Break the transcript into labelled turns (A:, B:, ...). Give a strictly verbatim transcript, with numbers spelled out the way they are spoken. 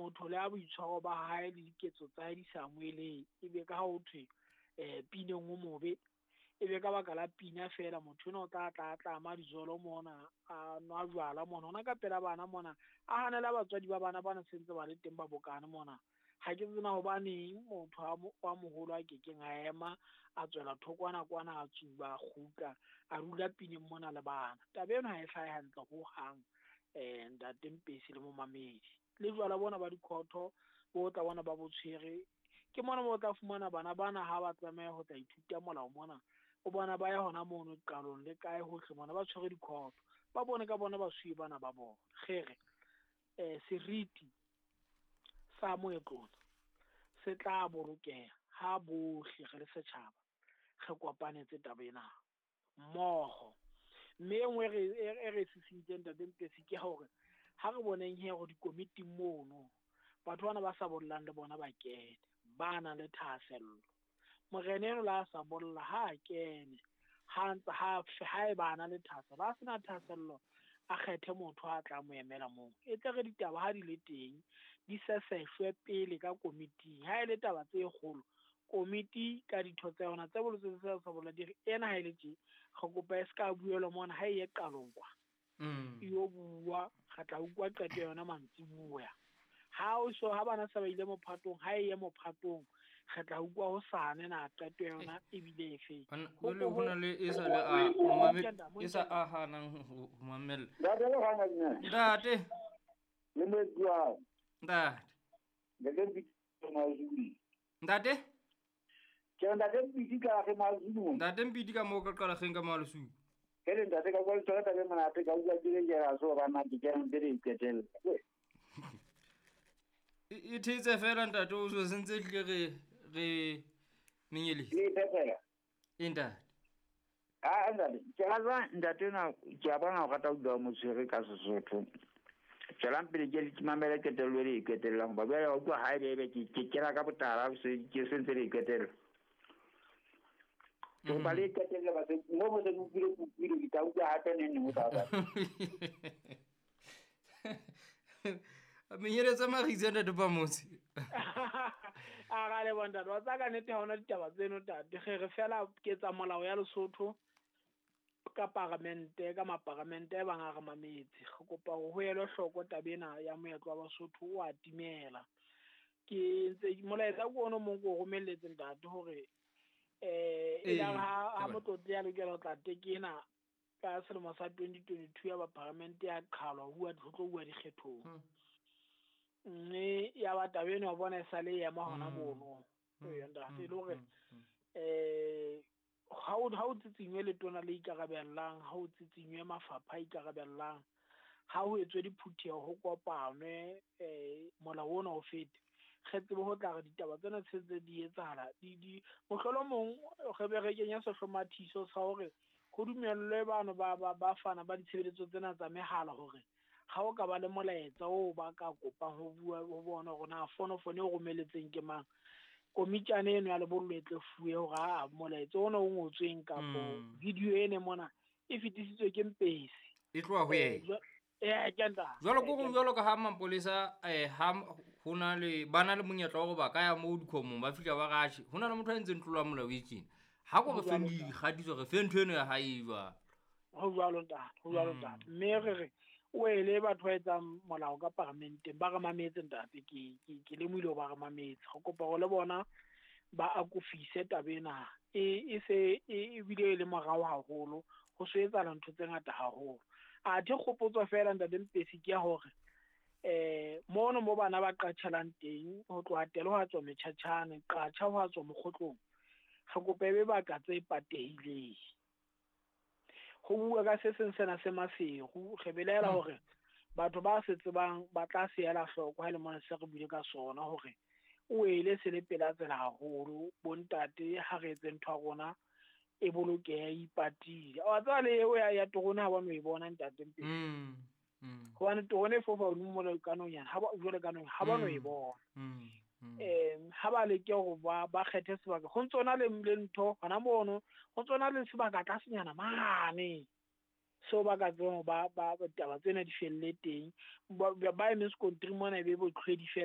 A: Motho le a boitshwaro ba hae le diketso tsa hae di sa amohelehe, ebe ka ha ho thwe um pineng o mobe, ebe ka baka la pina feela motho enwa o tla tla a tlama dijolo mona, a nwa jwala mona, hona ka pela bana mona, a hanela batswadi ba bana bana sentse ba le teng ba bokane mona. Ha ke tsena hobaneng motho wa moholo a kekeng a ema a tswela thokwana kwana a tsuba a kgutla a dula pineng mona le bana. Taba eno ha e hlahe hantle hohang, um ntate Mpesi le momamedi. Le jwala bona ba dikhotho bo tla bona ba bo tshwere, ke mona mo o tla fumana bana bana ha ba tlameha ho tla ithuta molao mona, o bona ba ya hona mono qalong le kae hohle mona ba tshwere dikhotho, ba bone ka bona basuwe bana ba bona. Kgere um seriti sa moetlong se tla bolokeha ha bohle re le setjhaba re kopanetse taba ena mmoho. Mme e nngwe e re sisintseng ntate Mpesi ke hore ha re boneng he hore dikomiting mono batho bana ba sa bollang le bona ba kene, ba nang le thahasello. Morena eno la sa bolla ha a kene, ha ntse ha ha e ba na le thahasello, ha sena thahasello a kgethe motho a tla mo emela moo. E tle re ditaba ha di le teng di seseshwe pele ka komiting. Ha e le taba tse kgolo, komiti ka ditho tsa yona tse bolotseng tse sa bolla di re ena ha e le tje, re kopa e se ka buelwa mona, ha e ye qalong kwa. E yo bua, re tla utlwa qeto ya yona mantsibuya. Ha o so ha bana se ba ile mophatong, ha e ye mophatong, re tla utlwa hosane na qeto ya yona ebile efe.
B: Jwale ho na le e sa le a mamele, e sa a hanang ho mamela.
C: Ntate le hana nna.
B: Ntate.
C: Le moetsi.
B: Ntate.
C: Ntate Mpiti Mazulu.
B: Ntate?
C: Ke ntate Mpiti ka re Mazulu.
B: Ntate Mpiti ka mo ka qala kgeng ka Malusuku.
C: Ke le ntate ka kwa tsona taba monate ka utlwa ke le jera so ba nna ke kena pele iqetelle.
B: E thetse fela ntate o so sentse tle re re menyeletse.
C: Le phepela.
B: E ntate.
C: Ah ntate, ke rata ntate na ke a bona o rata ho bua motshwere ka Sesotho. Tswelang pele ke le mamele qetello le iqetellang ba bjale wa utlwa ha ebe ebe ke ke kena ka botala se ke sentse le iqetella. Ke ba le qetelle ba se mo mo se utlwile kutlwile ke tla utlwa hape neng neng o tla ba.
B: Menyeletse Magitse ntate Pamotse.
A: A ga le bona ntate, wa tsaya ka nnete ha hona ditaba tseno ntate. Re re fela ke tsa molao ya Lesotho ka paramente, ka maparamente e bang a re mametse. Re kopa hore ho elwe hloko taba ena ya moetlo wa Basotho o a timela. Ke ntse molaetsa ke ono mong ko o romelletse ntate hore eh e la ha ha motlotli ya lokela ho tla tekena ka selemo sa twenty twenty-two ya ba paramente ya qhalwa ho bua ho tlo bua dikgethong. Mme ya ba taba eno wa bona e sale e ema hona mono. Ee ntate, e le hore eh ha o ha o tsitsinywe letona le ikarabellang, ha o tsitsinywe mafapha a ikarabellang, ha ho etswe diphutheho ho kopanwe eh molao ona o fete. Re tsebe ho tla re ditaba tsena tse tse di etsahala di di mohlolomong re be re kenya sehlomathiso sa hore ho dumellwe bano ba ba ba fana ba ditshebeletso tsena tsa mehala hore ha o ka ba le molaetsa oo ba ka kopang ho bua ho bona hore na fonofono e romeletseng ke mang, komitjane eno ya lebollo e tle fuwe hore a molaetsa ona o ngotsweng kapo video ene mona e fetisitswe ke Mpesi
B: e tloha ho yena.
A: Eh ke ntate.
B: Jwalo ko jwalo ka ha mapolesa eh ha hona le bana le monyetla wa hore ba ka ya moo dikhomong ba fihla ba ratjhe. Hona le motho a entseng tlolo ya molao e tjena. Ha ko re feng dikgatiso re fe ntho eno ya hae jwalo.
A: Ho jwalo ntate, ho jwalo ntate. Mme re re o ele batho ba etsang molao ka paramenteng ba re mametse ntate, ke ke ke lemohile ba re mametse. Re kopa hore le bona ba akofise taba ena e e se e bile e le morao haholo, ho so etsahala ntho tse ngata haholo. Athe kgopotso fela ntate Mpesi ke ya hore eh mono mo bana ba qatjhelang teng ho tloha tele ho tswa metjhatjhane, qatjha ho tswa mokgotlong, re kopa ebe baka tse patehileng. Ho bua ka se seng sena se Maseru, re belaela hore batho ba se tsebang ba tla se ela hloko ha le mona se re buile ka sona hore o ele se le pela tsela haholo. Bontate ha re etse ntho ya rona e bolokehe, e ipatile. Wa tseba le eo ya ya terone ha ba no e bona ntate Mpesi. Hobane terone e fofa hodimo mona ka nonyana, ha ba jwale ka nonyana ha ba no e bona. Eh ha ba leke hore ba ba kgethe sebaka, ho ntso na le le ntho hona mono, ho ntso na le sebaka tlasenyana mane seo ba ka tsebang ba ba taba tsena di felle teng. Ba ba eme sekontiri mona e be botlhwedi fela.